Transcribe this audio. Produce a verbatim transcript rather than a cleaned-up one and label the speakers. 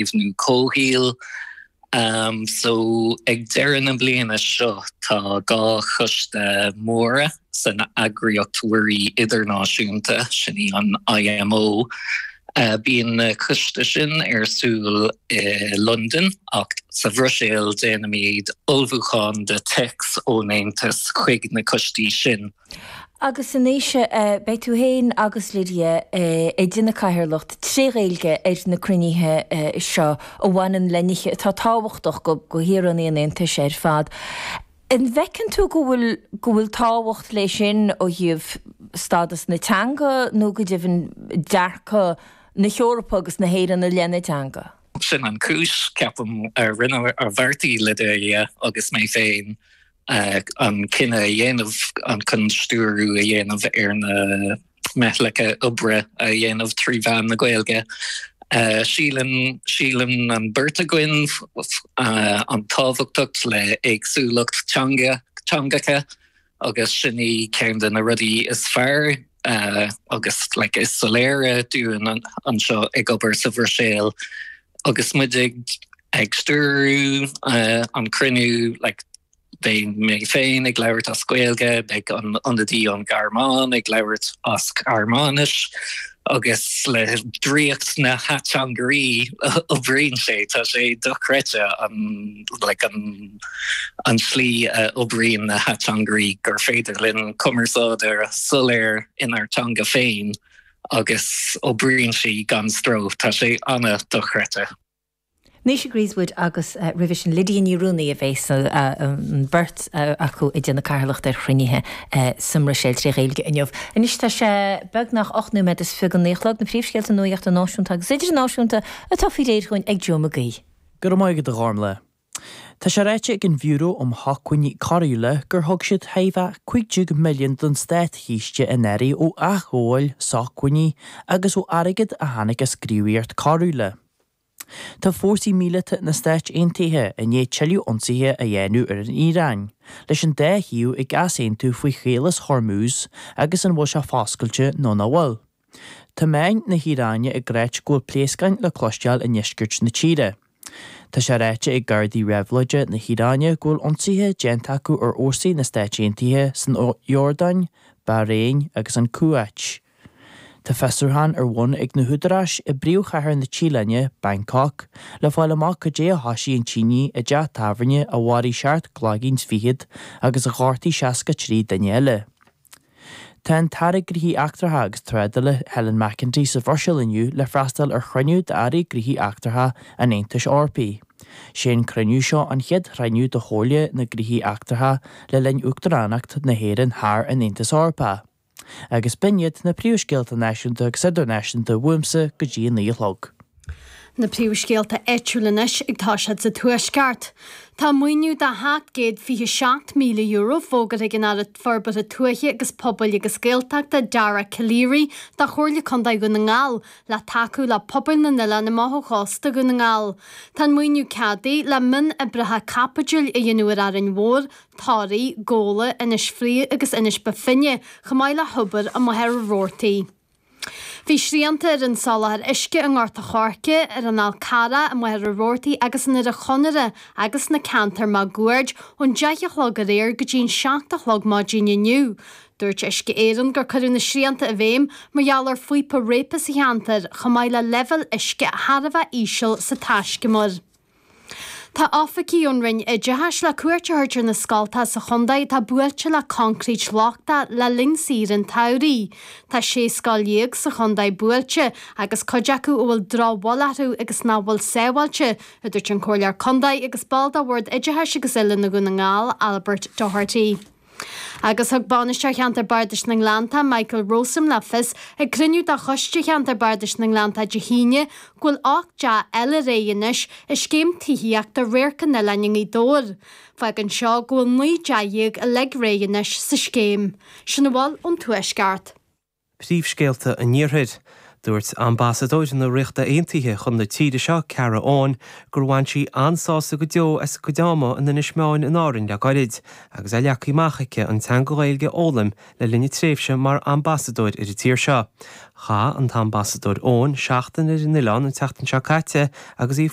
Speaker 1: Caomhnú Comhshaoil. Um, so ag deireadh na bliana seo tá dhá choiste móra san eagraíocht mhuirí idirnáisiúnta sin í an IMO. Uh, bíonn na coiste sin ar siúl i London ach sa Bhruiséil déanaimid ullmhúchán de téacs ón Aontas chuig na coistí sin.
Speaker 2: Agus anois beidh tú féin agus Lydia ag déanamh cathaoirleacht tré Ghaeilge ar na cruinnithe seo a bhaineann le nithe atá tábhachtach go go shaoránaigh an Aontais ar fad. An bhfeiceann tú go bhfuil go bhfuil tábhacht leis sin ó thaobh stádas na teanga nó go deimhin dearcadh na hEorpa agus na hÉireann i leith na teanga?
Speaker 1: Sin an cúis ceapaim a rinne a bheartaigh Lydia agus mé féin an cinneadh a dhéanamh an chun stiúrú a dhéanamh ar na meithleacha oibre a dhéanamh trí mheán na Gaeilge. Síleann síleann an bheirt againn an tábhachtacht le éagsúlacht teanga teangacha agus sin í ceann de na rudaí is fearr agus like, is soiléire dúinn anseo ag obair sa Bhruiséil agus muid ag ag stiúrú an cruinniú like, Beidh mé féin ag labhairt as Gaeilge, beidh an ionadaí ón Ghearmáin ag labhairt as Gearmáinis agus le draíocht na hateangairí oibríonn sé tá sé dochreidte an like, an, an slí a oibríonn na hateangairí gur féidir linn cumarsáid soiléir inár teanga féin agus oibríonn sí gan stró tá sé an-dochreidte.
Speaker 2: Naoise Grisewood agus roimhe sin Lydia Ní Ruanaí a bheas an bheirt acu ag déanamh cathaoirleacht ar chruinnithe sa mBruiséil trí Ghaeilge inniu. Anois tá sé beagnach ocht nóiméad is fiche don naoi a chlog na príomhscéalta nuachta náisiúnta agus idirnáisiúnta atá faoi réir chugainn ag Joe McGee.
Speaker 3: Go raibh maith agat a Ghormlaith. Tá sé ráite ag an Bhiúró um Shócmhainní Coiriúla gur thug siad thart fá cúig déag milliún don státchiste anuraidh ó athghabháil sócmhainní agus ó airgead a tháinig as gníomhaíocht choiriúla. Tá fórsaí míleata na Stáit Aontaithe i ndiaidh tuilleadh ionsaithe a dhéanamh ar an Iaráin, leis an dá thaobh ag easaontú faoi Chaolas Hormuz agus an bhfuil sé foscailte nó nach bhfuil. Tá meáin na hIaráine ag ráit go bhfuil pléascáin le cloisteáil i ndeisceart na tíre. Tá sé ráite ag Gardaí Réabhlóide na hIaráine go bhfuil ionsaithe déanta acu ar fhórsaí na Stáit Aontaithe san Iordáin, Bairéin agus an Cúáit. Tá fiosrúchán ar bun ag na húdaráis i bpríomhchathair na Téalainne, Bangkok, le fáil amach cad é a thoisigh an tine i dteach tábhairne a mharaigh seacht gcloigeann is fichead agus a ghortaigh seasca trí duine eile. Tá an tAire Gnóthaí Eachtracha agus Trádála Helen McEntee sa Bhruiséil inniu le freastal ar chruinniú d'Airí Gnóthaí Eachtracha an Aontais Eorpaigh. Sé an cruinniú seo an chéad chruinniú de Chomhairle na Gnóthaí Eachtracha le linn Uachtaránacht na hÉireann thar an Aontas Eorpach. Agus b'in iad na príomhscéalta náisiúnta agus idirnáisiúnta uaimse go dtí a naoi a chlog.
Speaker 4: Na príomhscéalta áitiúla anois ag toiseacht sa Tuaisceart. Tá maoiniú de sheacht gcéad fiche seacht míle euro fógartha ag an Aire Forbartha Tuaithe agus Pobail agus Gaeltachta Dara Calleary do Chomhairle Contae Dhún na nGall le tacú le pobail na n-oileán amach ó chósta Dhún na nGall. Tá an maoiniú ceadaithe le mionoibreacha caipitil a dhéanamh ar Árainn Mhór, Toraigh, Gabhla, Inis Fraoigh agus Inis Bó Finne, chomh maith le hobair i Machaire Rabhartaigh. Bhí srianta ar an soláthar uisce i nGort a' Choirce, ar an Fhál Carrach, i Machaire Rabhartaigh agus in Doire Chonaire agus sna ceantair máguaird ón deich a chlog aréir go dtí an seacht a chlog maidin inniu. Dúirt Uisce Éireann gur cuireadh na srianta i bhfeidhm mar gheall ar phíopa réabtha sa cheantar, chomh maith le leibhéal uisce thar a bheith íseal sa taiscumar. Tá oifigigh ón Roinn Oideachais le cuairt a thabhairt ar na scoltacha sa chontae atá buailte le coincréit lochtach le linn saoire an tsamhraidh. Tá sé scoil dhéag sa chontae buailte agus cuid acu a bhfuil drochbhail orthu agus nach bhfuil sábháilte, a dúirt an Comhairleoir Contae agus ball de Bhord Oideachais agus Oiliúna Dhún na nGall, Albert Doherty. Agus thug Bainisteoir Cheantar Bardais na nGleanntach, Michael Rowsome le fios ag cruinniú de Choiste Cheantar Bardais na nGleanntach Dé hAoine go bhfuil ocht dteach eile réidh anois i scéim tithíochta Radharc an Oileáin i nGaoth Dobhair. Fágann seo go bhfuil naoi dteach dhéag uilig réidh anois sa scéim. Sin a bhfuil ón Tuaisceart.
Speaker 5: Príomhscéalta an Iarthair. Dúirt ambasadóir na Ríochta Aontaithe chun na tíre seo Cara Owen gur bhain sí an-sásamh go deo as a cuid ama in Inis Meáin in Árainn le gairid, agus é leagtha amach aici an teanga Ghaeilge a fhoghlaim le linn a tréimhse mar ambasadóir ar an tír seo. Chaith an t-ambasadóir Owen seachtain ar an oileán an tseachtain seo caite agus í